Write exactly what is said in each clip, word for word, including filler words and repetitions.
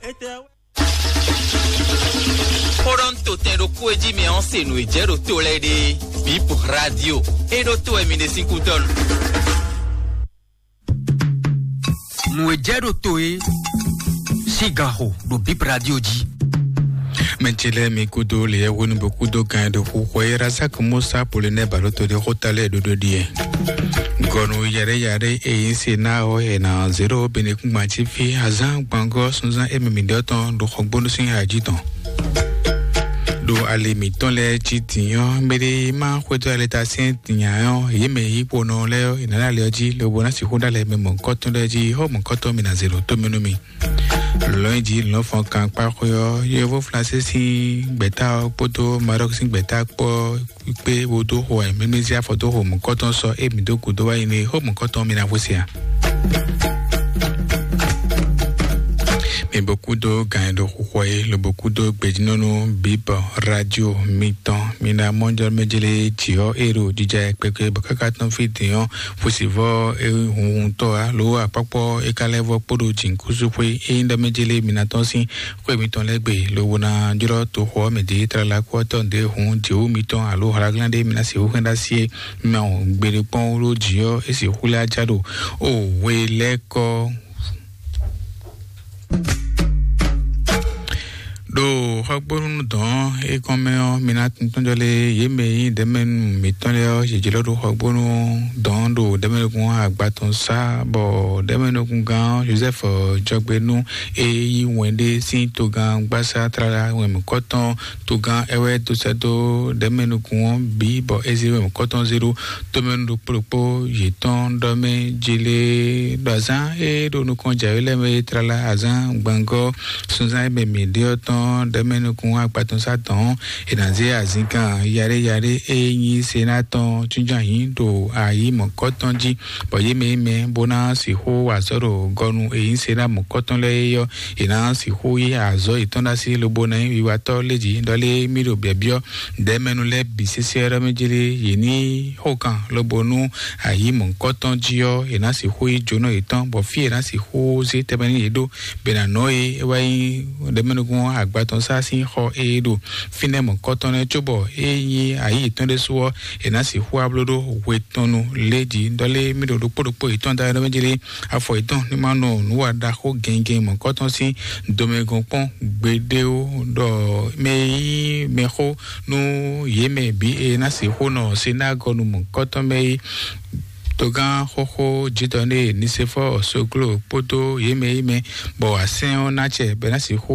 Xó ɖɔ un to tɛn ɖokpó e jí mi ɔ́ se nǔ e jɛ ɖo to lɛ́ɛ ɖe. Bip Radio. E ɖo to wɛ mi ɖe sín kútɔ́nu. Nǔ e jɛ ɖo to e sín gan xo ɖo Bip Radio jí. Mɛ ce lɛ́ɛ mi kúdó leyɛ́hónú bó kúdó gan e ɖo xu xɔ e Razak Musa Polonɛ balóto ɖe xóta lɛ́ɛ ɖóɖó ɖíe. Gɔnu yɛɖɛ́ yɛɖɛ́ e nyí se ná ɔ́, è nǎ zě ɖó Benekúngban cí fí azán gbɔngɔ́ sunzán e mɛ mǐ ɖɔ tɔn ɖo xɔgbónú sín ají tɔn. Ɖo ali mǐtɔn lɛ́ɛ jí dǐn ɔ́, mɛɖé má xwedó alɛta sín dǐn nya ɔ́, yě mɛ yí kponɔ lɛ́ɛ ɔ́, è nǎ ɖo ali ɔ́ jí lobo ná sixú ɖó alɛ mɛ mɔ̌hunkɔtɔn lɛ́ɛ jí, xó mɔ̌hunkɔtɔn mi ná zé ɖo tó mɛ nú mi. Lɔ̌nyijǐ lɔ̌nfɔn kankpá xwé ɔ́, yovó Flansé sín gbɛ̌ta ɔ́ kpódó Marɔ́k sín gbɛ̌ta kpó kpé wo dó xo wɛ mímí zé afɔ dó xo mɔ̌kɔtɔn sɔ́ émí dó gǔdo wá yi ní xó mɔ̌kɔtɔn mi ná xwé se ǎ. Mi bó kúdó gan e ɖo xixɔ é, lobo kúdó gbejínɔ́nú bǐbɔ radio mitɔn. Mi ná mɔ jɔ mɛ jlé jǐ ɔ́ é ɖo jija kpɛkpɛ bɔ káká tɔn fí din ɔ́, fusivɔ e hunhuntɔ alo akpɔkpɔ e ka lɛ́ vɔ kpódó jǐnkúsúxwé e nyí ɖɔ mɛ jlé mi ná tɔn sín xwé mitɔn lɛ́ɛ gbe, lobo ná jlɔ́ toxo ɔ́ mɛ dě tlala kú ɔ́ tɔn ɖě hun jěwú mitɔn alo hlaglán ɖé mi ná sixú hɛn ɖó así é. Mɛ ɔ́, gbeɖé kpɔ́n wú ɖó jǐ ɔ́, é sixú lɛ́ ajá ɖo o hwe lɛ́ɛ kɔ. Ɖo xɔgbónú dɔn é kɔn mɛ ɔ́, mi ná tɔn jɔ lé yě mɛ e nyí ɖɛ̌mɛnu mǐtɔn lɛ́ɛ ɔ́, yě jlɔ́ ɖo xɔgbónú dɔn ɖo ɖɛ̌mɛnukun agba tɔn sá, bɔ ɖɛ̌mɛnukungán ɔ́, Jozɛ́fu jɔgbenú e yí wɛn ɖé sín togán gbásá tlala wɛnmɔkɔ́tɔn togán é wɛ dó sɛ́ dó ɖɛ̌mɛnukun ɔ́ bǐ, bɔ é zé wɛnmɔkɔ́tɔn zé ɖó tomɛnu ɖokpó ɖokpó yětɔn ɖɔ mɛ jélé ɖo azǎn e ɖo nukɔn jǎwe lɛ́ɛ mɛ é tlala azǎn gbangɔ́ sunzán e mɛ mǐ ɖe ɔ́ tɔn ɖɛ̌mɛnukun agba tɔn sá tɔn ɔ́, è nǎ zé azǐngán yaɖé yaɖé e nyí Sená tɔn jínjɔ́n ayǐ ɖo ayǐ mɔ̌kɔ́tɔn jí, bɔ yě mɛ e mɛ bó ná sixú wa azɔ̌ ɖo gɔnu e nyí Sená mɔ̌kɔ́tɔn lɛ́ɛ é ɔ́, è nǎ sixú yí azɔ̌ yětɔn ɖó así lobo ná nyí wiwatɔ́ lé jí ɖɔ lé mì ɖo byɔ̌byɔ́ ɖɛ̌mɛnu lɛ́ɛ bǐ sésé ɔ́ ɖɔ mɛ jélé yě ní xo kan lobo nú ayǐ mɔ̌kɔ́tɔn jí ɔ́, è nǎ sixú yí jǒnɔ yětɔn, bɔ fí è nǎ sixú zé tɛnmɛ nú yě ɖó bɔ è nǎ nɔ é, é wá nyí ɖɛ̌mɛnukún agba tɔn sá sín xɔ e ɖo fínɛ́ mɔ̌kɔ́tɔn lɛ́ɛ, cóbɔ é nyí ayǐ yětɔn ɖésú ɔ́, è nǎ sixú wá bló ɖó hwe tɔn nu lé jí ɖɔ lé mì ɖo ɖokpó ɖokpó yětɔn da ɖɔ mɛ jélé afɔ yětɔn ní ma nɔ nǔ wa ɖaxó gɛngɛn mɔ̌kɔ́tɔn sín domɛgɔn kpɔ́n gbeɖé ó, ɖɔ mɛ e nyí mɛxó nú yě mɛ bǐ e ná sixú nɔ sinágɔnu mɔ̌kɔ́tɔn mɛ é. Togán xóxó jǐdɔ̌n ɖé Nisefɔ́ɔ Soglo kpódó yě mɛ e nyí mɛ bɔ asɛ́n ɔ́ ná acɛ bɔ é ná sixú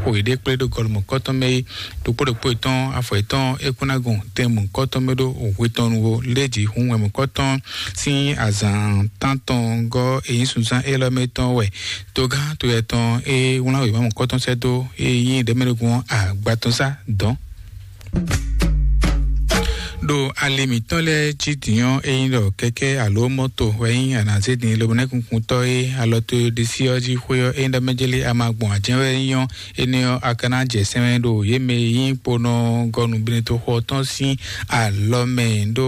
xo yěɖée kplé ɖó gɔlumɔ̌kɔ́tɔn mɛ é. Ɖokpó ɖokpó yětɔn afɔ yětɔn é kún ná gɔn tɛn mɔ̌kɔ́tɔn mɛ ɖó hwe tɔn nu ó. Lé jí hun wɛ mɔ̌kɔ́tɔn sín azǎn tántɔn gɔ́ e nyí sunzán élɔ́ mɛ tɔn wɛ togán toyɛ tɔn e wlán wěma mɔ̌kɔ́tɔn sɛ́ dó e nyí ɖɛ̌mɛɖógún ɔ́ agba tɔn sá dɔ̌n. Ɖo ali mǐtɔn lɛ́ɛ jí dǐn ɔ́, é nyí ɖɔ kɛkɛ́ alo mɔ́to wɛ nyí anǎzédin lobonɛ́kunkuntɔ́ e alɔ to ɖisí ɔ́ jí xwé ɔ́, é nyí ɖɔ mɛ jélé a ma gbɔn ajɛ́n wɛ nyí ɔ́, énɛ́ ɔ́, a ka ná jɛ sɛn mɛ ɖo yě mɛ e nyí kponɔ gɔnu binetoxo ɔ́ tɔn sín alɔ mɛ, ɖó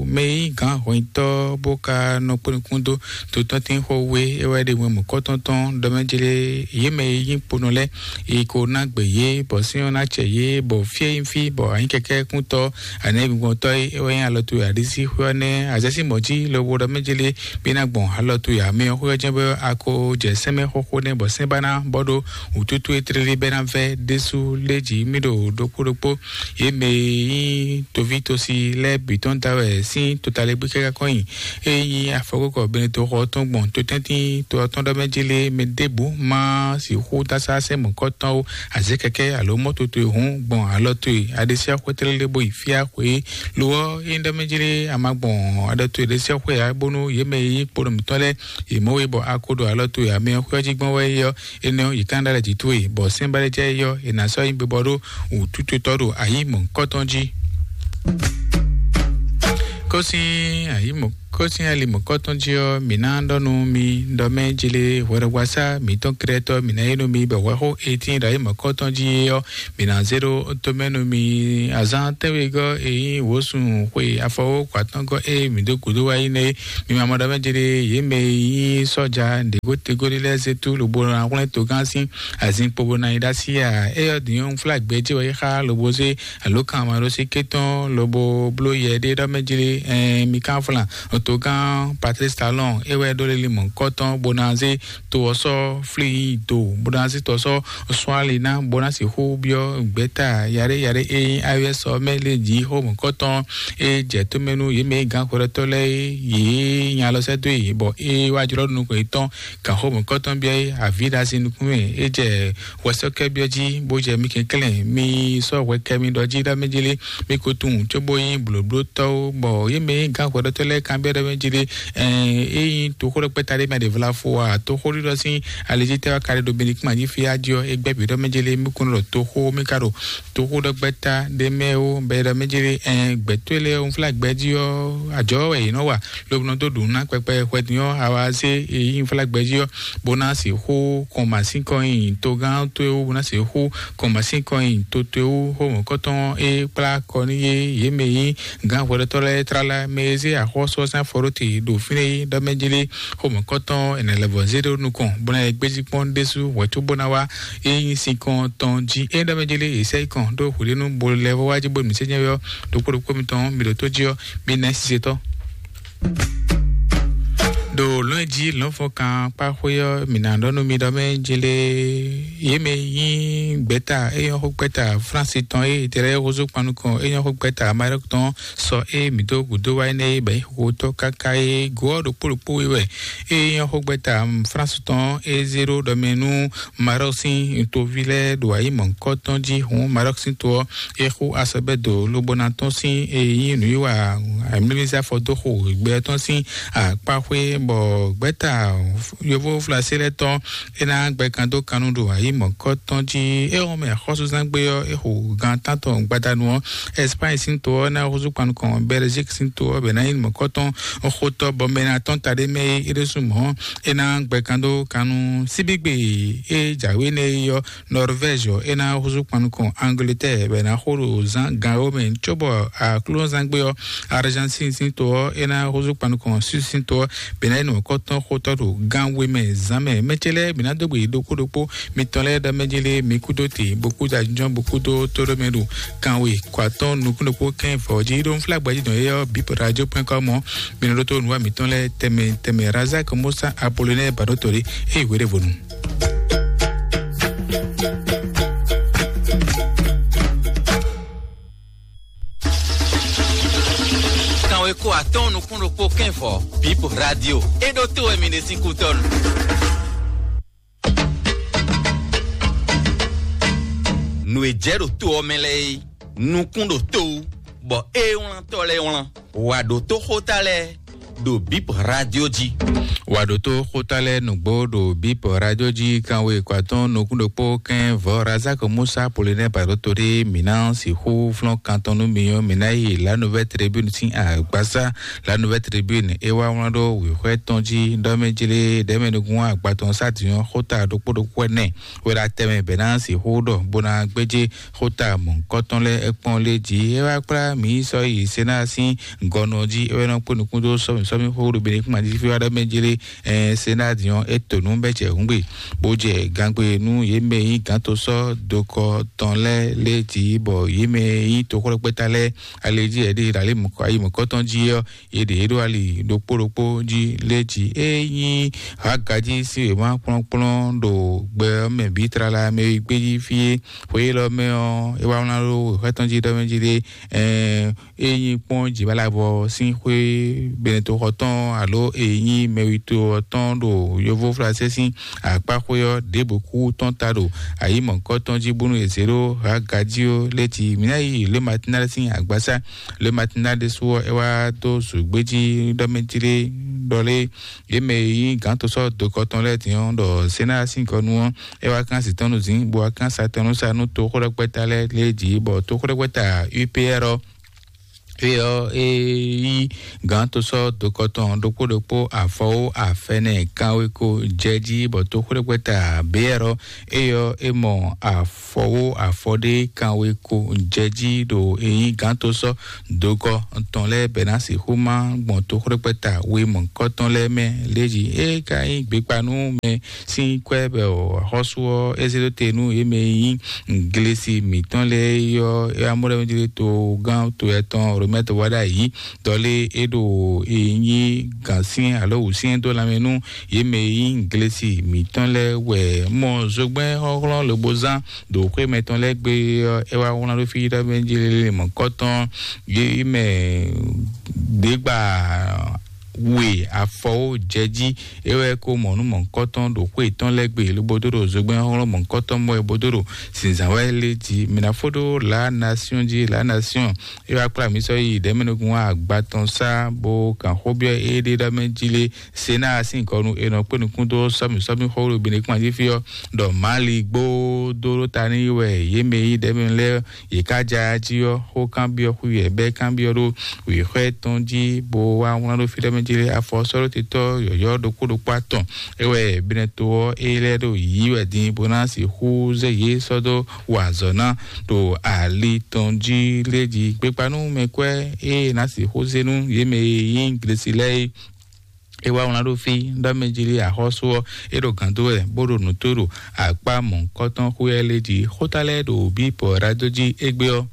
mɛ e nyí gǎn hwɛnyitɔ́ bó ka nɔ kpó nukún dó totɔ́ntín xó wé é wɛ ɖe wɛn mɔ̌kɔ́tɔn tɔn ɖɔ mɛ jlé yě mɛ e nyí kponɔ lɛ́ɛ, è ko ná gbɛ yě, bɔ sɛ́n ɔ́ ná acɛ yě, bɔ fí e nyí fí, bɔ anyíkɛkɛ́kúntɔ́ anɛ́gbɔntɔ́ e é wɛ nyí alɔ towe aɖisí xwé ɔ́ nɛ́ azɛ́sí mɔ̌ jí lobo ɖɔ mɛ jlé bí ná gbɔn alɔ towe amɛ ɔ́ xwé ɔ́ jɛ́n bɔ a ko jɛ sɛ́n mɛ xóxó nɛ́, bɔ sɛ́n ba ná bɔ ɖó wǔtútú e tlélí bɛ́ ná vɛ́ ɖésú lé jǐ mì ɖo ɖokpó ɖokpó. Yě mɛ e nyí toví tosi lɛ́ɛ bǐ tɔn da wɛ sín totaligbí kɛ́ ká kɔn nyi. E nyí afɔkókɔ benetoxɔ ɔ́ tɔn gbɔn totɛ́ntín to ɔ́ tɔn ɖɔ mɛ jélé mɛ ɖěbǔ má sixú dásá sɛ́n mɔ̌kɔ́tɔn ó, azě kɛkɛ́ alo mɔ́ towe hǔn gbɔn alɔ towe aɖésíaxwé tlélé bó yi fíá xwé. Lo ɔ́, é nyí ɖɔ mɛ jélé a ma gbɔn aɖɔ towe ɖésíaxwé ǎ, bónú yě mɛ e nyí kponɔ mǐtɔn lɛ́ɛ yě mɔ we bɔ a ko ɖo alɔ towe amɛ ɔ́ xwé ɔ́ jí gbɔn wɛ é ɔ́, énɛ́ ɔ́, yě ka ná ɖó alɛ jǐ towe, bɔ sɛ́n ba lɛ́ jɛ é ɔ́, è nǎ sɔ́ nyí gbebɔ ɖó wǔtútotɔ́ ɖo ayǐ mɔ̌hunkɔtɔn jí. Kɔ́ sín ayǐ mɔ̌ Kpɔ́ sín ali mɔ̌kɔ́tɔn jí ɔ́, mǐ ná ɖɔ nú mi ɖɔ mɛ jlé hwɛɖɔgbasá mǐtɔn Krɛtɔ́ mǐ ná yí nú mi bɔ hwɛxó etɛ́n ɖo ali mɔ̌kɔ́tɔn jí é ɔ́, mǐ ná zé ɖó tomɛ nú mi. Azǎn tɛ́nwegɔ́ e nyí wǒsun xwe afɔwó kɔ atɔ́ngɔ́ e mǐ dó gǔdo wá yi nɛ́ é, mi ma mɔ ɖɔ mɛ jlé yě mɛ e nyí sɔ́ja ɖěgótegóɖé lɛ́ɛ zé tú lobo ná hwlɛ́n togán sín azin kpo bó ná yi ɖó así ǎ. Éyɔ́ din ɔ́, un flá gbɛjí wɛ yi xá lobo zé alo kan ma ɖo sí kétɔn lobo bló yɛ ɖé ɖɔ mɛ jlé. Ɛn mi kan flan otogán Patrice Talon é wɛ ɖó lili mɔ̌kɔtɔn bó ná zé to ɔ́ sɔ́ flí do bó ná zé to ɔ́ sɔ́ sɔ́ ali ná bó ná sixú byɔ́ gbɛ̌ta yaɖé yaɖé e nyí ayɔ́ sɔ mɛ lé jí xó mɔ̌kɔtɔn. É jɛ tómɛ nú yě mɛ gǎn xwɛɖɔtɔ́ lɛ́ɛ é yě nya alɔ sɛ́ dó yě bɔ é wá jlɔ́ nukɔn yětɔn gǎn xó mɔ̌kɔtɔn byɔ́ é avǐ ɖo asi nukún mɛ. É jɛ hwɛsɔ́kɛ́byɔ́ jí bó jɛ mi kɛnklɛ́n mi sɔ́ hwɛ kɛ mi ɖɔ jí ɖɔ mɛ jélé mi ko tunwun cóbó nyí blǒblótɔ́ ó. Bɔ yě mɛ nyí gǎn hwɛɖɔtɔ́ lɛ́ɛ kanbyɔ́ ɖɔ mɛ jélé é nyí toxó ɖɔ kpɛ́ta ɖé mɛ ɖě vla fo a toxó ɖiɖɔ sín alejítɛ́ wá ka ɖe ɖo benikúma jí fí á jí ɔ́ é gbɛ́ bǐ ɖɔ mɛ jélé mi kún ɖɔ toxó mi ka ɖo toxó ɖɔ kpɛ́ta ɖé mɛ ó bɛ ɖɔ mɛ jélé gbɛtɔ́ lɛ́ɛ ń flá gbɛ́ jí ɔ́ ajɔ̌ wɛ yě nɔ wa lobo nɔ dó ɖu ná kpɛkpɛ hwɛdín ɔ́ awa zé e yí nflá gbɛjí ɔ́ bó ná sixú kɔn masín kɔn nyi togán towe wú bó ná sixú kɔn masín kɔn nyi to towe wú xó mɔ̌kɔtɔn e kplá kɔ ní yé yě mɛ yí gán hwɛɖɔtɔ́ lɛ́ɛ tlala mɛ e zé axɔ́sú ɔ́ sín afɔ ɖó te ɖo fínɛ́ é ɖɔ mɛ jélé xó mɔ̌kɔtɔn ɛnɛ lɛ́ vɔ zé ɖó nukɔn bó ná yɛ gbéjí kpɔ́n ɖésú hwɛ̌ cóbó ná wá é nyí sin kɔn tɔn jí é ɖɔ mɛ jélé è sɛ́ yi kɔn ɖó hwǐɖénú bo lɛ́ vɔ wá jí bó mǐ sɛ́ nyɛ ɔ́ ɖokpó ɖokpó mitɔn mi ɖo tó jí ɔ́ mi nɛ́ sise tɔn. Ɖo lɔn jí lɔnfɔkan kpáxwé ɔ́, mǐ ná ɖɔ nú mi ɖɔ mɛ jélé yě mɛ nyí gbɛ́ta é nyɔ́ xó gbɛ́ta Flánsi tɔn é tɛlɛ húzú kpannukɔn é nyɔ́ xó gbɛ́ta Marɔ́k tɔn sɔ é mǐ dó gǔdo wá énɛ́ é bɛ̌ nyí xóxótɔ́ káká é go ɔ́ ɖokpó ɖokpó é wɛ é nyɔ́ xó gbɛ́ta Flánsi tɔn é zé ɖó ɖɔ mɛ nú Marɔ́k sín toví lɛ́ɛ ɖo ayǐ mɔ̌hunkɔtɔn jí hǔn Marɔ́k sín to ɔ́ é xú asɔbɛ́do lobo ná tɔ́n sín e nyí nǔwiwa amlímízá fɔ dó xo gbɛ tɔn sín akpáxwé bɔ gbɛ́ta yovó Flasilɛ tɔn é ná gbɛ kan dó kannu ɖo ayǐ mɔ̌kɔtɔn jí. É wɔn mɛ xɔ́súzán gbé ɔ́ é xo gan tántɔn gbadanu ɔ́ Espagne sín to ɔ́ ná húzú kpanu kɔn Belgique sín to ɔ́ bɛ ná nyí mɔ̌kɔtɔn xótɔ́ bɔ mɛ ná tɔn ta ɖé mɛ é ɖésú mɔ̌ é ná gbɛ kan dó kannu síbígbe é jǎwe nɛ é ɔ́ Norvège ɔ́ é ná húzú kpannukɔn Angleterre bɔ é ná xo ɖo zán gan ɔ́ mɛ cóbɔ aklúnɔzán gbé ɔ́ Argentine sín to ɔ́ é ná húzú kpannukɔn Suisse sín to ɔ́ bɔ é ná yi nɔ kɔ́tɔn xótɔ́ ɖo gan we mɛ zán mɛ. Mɛ ce lɛ́ɛ bǐ ná dó gbe yi ɖokpó ɖokpó mitɔn lɛ́ɛ ɖɔ mɛ jélé mi kúdó te bó kúdó ajínjɔ́n bó kúdó tóɖó mɛ ɖo kanwe kɔ atɔ́ɔ́n nukún ɖokpó kɛ́n vɔ̌ jí ɖó nflá gbajúdɔn éyɛ́ ɔ́ bip radio point com ɔ́ mi nɔ ɖótó nǔwa mitɔn lɛ́ɛ tɛmɛ tɛmɛ Razak Musa Apollinaire Baɖótɔ́ ɖé eye hweɖévonu. Kanwe ko atɔ́ɔ́n nukún ɖokpó kɛ́n vɔ̌ bip radio é ɖótó wɛ mi ɖe sín kútɔ́nu. Nǔ e jɛ ɖo to ɔ́ mɛ lɛ́ɛ é nukún ɖo to wú bɔ é wlántɔ́ lɛ́ɛ wlán. Wǎ ɖótó xóta lɛ́ɛ ɖo bip radio jí. Wǎ ɖótó xóta lɛ́ɛ nǔgbó ɖo bip radio jí kanwe kɔ atɔ́ɔ́n nukún ɖokpó kɛ́n vɔ̌ Razak Musa Polonɛ́ Baɖótó ɖé mǐ ná sixú flɔ́n kan tɔn nú mi ɔ́ mǐ ná yi La Nouvelle Tribune sín agbasá. La Nouvelle Tribune é wá wlán ɖó wěxwɛ́ tɔn jí ɖɔ mɛ jlé ɖɛmɛ nukún agba tɔn sá dǐn ɔ́ xóta ɖokpó ɖokpó ɛnɛ wɛ ɖo atɛ mɛ bɛ̌ ná sixú ɖɔ bó ná gbéjé xóta mɔ̌hunkɔtɔn lɛ́ɛ é kpɔ́n lé jí. É wá kplá mǐ yi sɔ́ yi Senáa sín gɔnɔ jí é wɛ nɔ kpó nukún dó sɔ́mì sɔ́mì xó ɖo Benekúma jí fí wá ɖɔ mɛ jlé. Senáa dǐn ɔ́ é to nǔ bɛ́ jɛ hǔngbe bó jɛ gangbe nú yě mɛ e nyí gǎntosɔ́ dokɔ tɔn lɛ́ɛ lé jí bɔ yě mɛ e nyí toxwlɛ́kpɛ́ta lɛ́ɛ ali jí ɛɖí ɖo ayi mɔ̌kɔtɔn jí ɔ́ yě ɖě ɖo ali ɖokpó ɖokpó jí lé jí. É nyí hagají sín wěma kplɔ́nkplɔ́n ɖo gbɛ ɔ́ mɛ bǐ tlala mɛ e gbé jí fí é. Xwe élɔ́ mɛ ɔ́ é wá wlán ɖó wěxwɛ́ tɔn jí ɖɔ mɛ jí ɖé. É nyí kpɔ́n jǐbalabɔ sín xwé Benetoxɔ tɔn alo è nyí mɛwito ɔ́ tɔn ɖo yovóflasɛ sín akpáxwé ɔ́ ɖěbǔ kú tɔn ta ɖo ayǐ mɔ̌kɔ́ tɔn jí bónú è zě ɖó hagají ɔ́ lɛ́ jí. Mǐ ná yi Le Matinal sín agbasá. Le Matinal ɖésú ɔ́ é wá dó zǔgbéjí ɖɔ mɛ jí ɖé ɖɔ lé yě mɛ e nyí gǎntosɔ́ dokɔ tɔn lɛ́ɛ din ɔ́ ɖɔ Senáa sín gɔnu ɔ́ é wá kán sǐ tɔn nú zǐn bó wá kán sa tɔn nú sa nú toxóɖɔkpɛ́ta lɛ́ɛ lé jí bɔ toxóɖɔkpɛ́ta U P R ɔ́ Eyɔ e yí gǎn tosɔ́ dokɔtɔn ɖokpó ɖokpó afɔwó afɛnɛ kanweko jɛ jí bɔ toxwlɛ́gbɛ́ta Beyɛrɔ, eyɔ e mɔ afɔwó afɔɖé kanweko jɛ jí ɖo e nyí gǎn tosɔ́ dokɔ tɔn lɛ́ɛ bɛ ná sixú má gbɔn toxwlɛ́gbɛ́ta we mɔ̌hunkɔtɔn lɛ́ɛ mɛ lé jí. E ka nyí gbekpa nú mɛ sín kwɛ́ bɔ xɔ́sú ɔ́ é zé dó te nú yě mɛ e nyí Glesi mǐtɔn lɛ́ɛ é ɔ́, é wá mɔ ɖɔ mɛ jlé togán to yɛtɔn Romɛ́ wá ɖ'ayǐ. Dɔlé é ɖo e nyí gǎnsyɛ́n alo wǔsyɛ́n dó lanmɛ nú yě mɛ e nyí Glesi mǐtɔn lɛ́ɛ wɛ mɔ zogbɛ́n xɔ́xlɔ́n lobo zán ɖo xwé mɛtɔn lɛ́ɛ gbe ɔ́, é wá wlán ɖó fí ɖɔ mɛ jlé mɔ̌kɔtɔn yě mɛ ɖě gba we afɔwó jɛ jí. É wɛ ko mɔ nú mɔ̌hunkɔtɔn ɖo xwé yětɔn lɛ́ɛ gbe lobo dó ɖo zogbɛ́n xɔ́xlɔ́n mɔ̌hunkɔtɔn mɔ ɛ bó dó ɖo zǐnzǎn wɛ lé jí. Mi ná fó ɖó La Nation jí, La Nation é wá kplá mǐ sɔ́ yi ɖɛ̌mɛnukún agba tɔn sá bó kan xó byɔ́ éɖée ɖɔ mɛ jí lé. Senáa sín gɔnu è nɔ kpé nukún dó sɔ́mì sɔ́mì xó ɖo Benekún jí fí ɔ́, ɖɔ Mali gbó dó ɖó ta n'i wɛ yě mɛ e nyí ɖɛ̌mɛnu lɛ́ɛ yě ká ja jí ɔ́, xó kanbyɔ́ xwí wɛ bɛ́ kanbyɔ́ ɖó wěxwɛ́ tɔn jí, bó wá wlán ɖó fí ɖɔ mɛ jí lé. Afɔsɔ́ɖótetɔ́ yɔ̌yɔ́ ɖokpó ɖokpó atɔn é wɛ Benɛto ɔ́ é lɛ́ ɖo yǐ wɛ din bó ná sixú zé yě sɔ́ dó wa azɔ̌ ná ɖo ali tɔn jí lé jí. Gbekpanú mɛkwɛ́ e ná sixú zé nú yě mɛ e nyí Glesi lɛ́ɛ é. É wá wlán ɖó fí ɖɔ mɛ jí lé axɔ́sú ɔ́ é ɖo gǎn dó wɛ bó ɖo nǔ tó ɖo akpá mɔ̌hunkɔtɔn xwé lɛ́ɛ lé jí. Xóta lɛ́ɛ ɖo bǐ pɔ̌ ɖadó jí égbé ɔ́,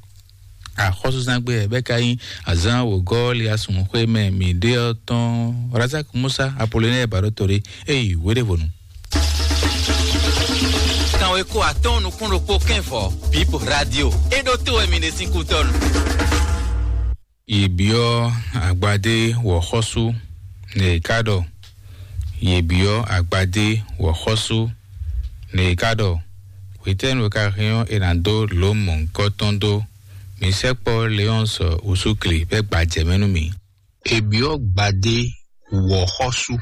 axɔ́súzán gbe wɛ bɛ́ ka nyí azǎn wǒgɔ́ Liasun xwé mɛ mǐ ɖe ɔ́ tɔn. Razak Musa Apolonɛ́ɛ Baɖótore é yi wěɖévonu. Kanweko atɔ́ɔ́n nukún ɖokpó kɛ́nvɔ Bíbo Radio é ɖótó wɛ mi ɖe sín kútɔ́nu. Yě byɔ́ agbadé wɔ̌xɔ́sú, nɛ è ká ɖɔ. Yě byɔ́ agbadé wɔ̌xɔ́sú, nɛ è ká ɖɔ. Hwetɛ́nu e ka hɛn ɔ́, è nǎ dó lǒ mɔ̌hunkɔtɔn dó. Mi sɛkpɔ́ Leɔ́nsɔ Usúkli bɛ́ gbajɛ mɛ nú mì. È byɔ́ gbadé wɔ̌xɔ́sú.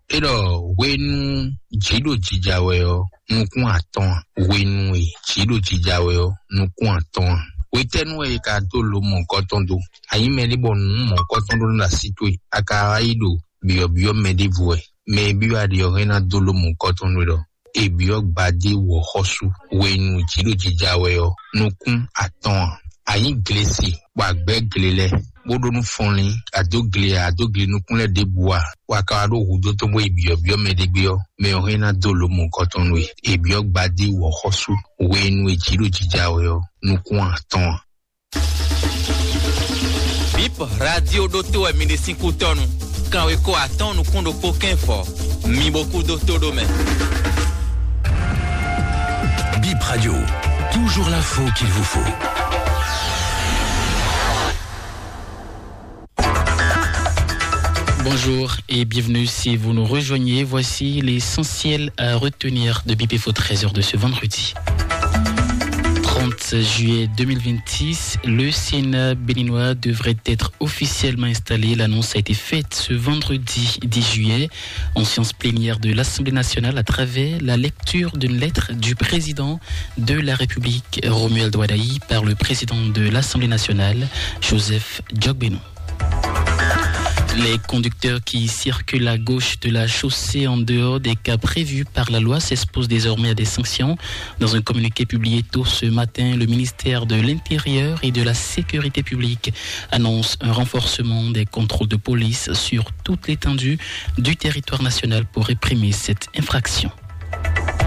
É ɖɔ hwenu jǐ ɖo jija wɛ ɔ́, nukún atɔn a? Hwenu e jǐ ɖo jija wɛ ɔ́, nukún atɔn a? Hwetɛ́nu wɛ è ka dó lǒ mɔ̌hunkɔtɔn dó? A nyí mɛɖé bɔ nǔ mɔ̌hunkɔtɔn ɖó nú así towe, a ka wá yi ɖo byɔ̌byɔ́ mɛ ɖěvo wɛ. Mɛ e byɔ́ a ɖe ɔ́ hɛn ná dó lǒ mɔ̌hunkɔtɔn nú we ɖɔ è byɔ́ gbadé wɔ̌xɔ́sú hwenu jǐ ɖo jija wɛ ɔ́, nukún atɔn a? A nyí glesi bɔ a gbɛ̌ gle lɛ́ɛ, bó ɖó nú fɔnlín, a dó gle a, a dó gle nukún lɛ́ɛ ɖěbǔ a, bɔ a ka wá ɖó hudó tɔn bó yi byɔ̌byɔ́ mɛ ɖé gbé ɔ́, mɛ ɔ́ hɛn ná dó lǒ mɔ̌hunkɔtɔn nú we. È byɔ́ gbadé wɔ̌xɔ́sú hwenu e jǐ ɖo jija wɛ ɔ́, nukún atɔn a? Bip Radio ɖótó wɛ mi ɖe sín kútɔ́nu. Kanweko atɔ́ɔ́n nukún ɖokpó kɛ́n fɔ. Mi bo kú dó tó ɖó mɛ. Bip Radio, toujours l'info qu'il vous faut. Bonjour et bienvenue si vous nous rejoignez. Voici l'essentiel à retenir de Bip Info treize heures de ce vendredi. Trente juillet deux mille vingt-six, le Sénat béninois devrait être officiellement installé. L'annonce a été faite ce vendredi dix juillet en séance plénière de l'Assemblée nationale à travers la lecture d'une lettre du président de la République, Romuald Wadagni, par le président de l'Assemblée nationale, Joseph Djogbénon. Les conducteurs qui circulent à gauche de la chaussée en dehors des cas prévus par la loi s'exposent désormais à des sanctions. Dans un communiqué publié tôt ce matin, le ministère de l'Intérieur et de la Sécurité publique annonce un renforcement des contrôles de police sur toute l'étendue du territoire national pour réprimer cette infraction.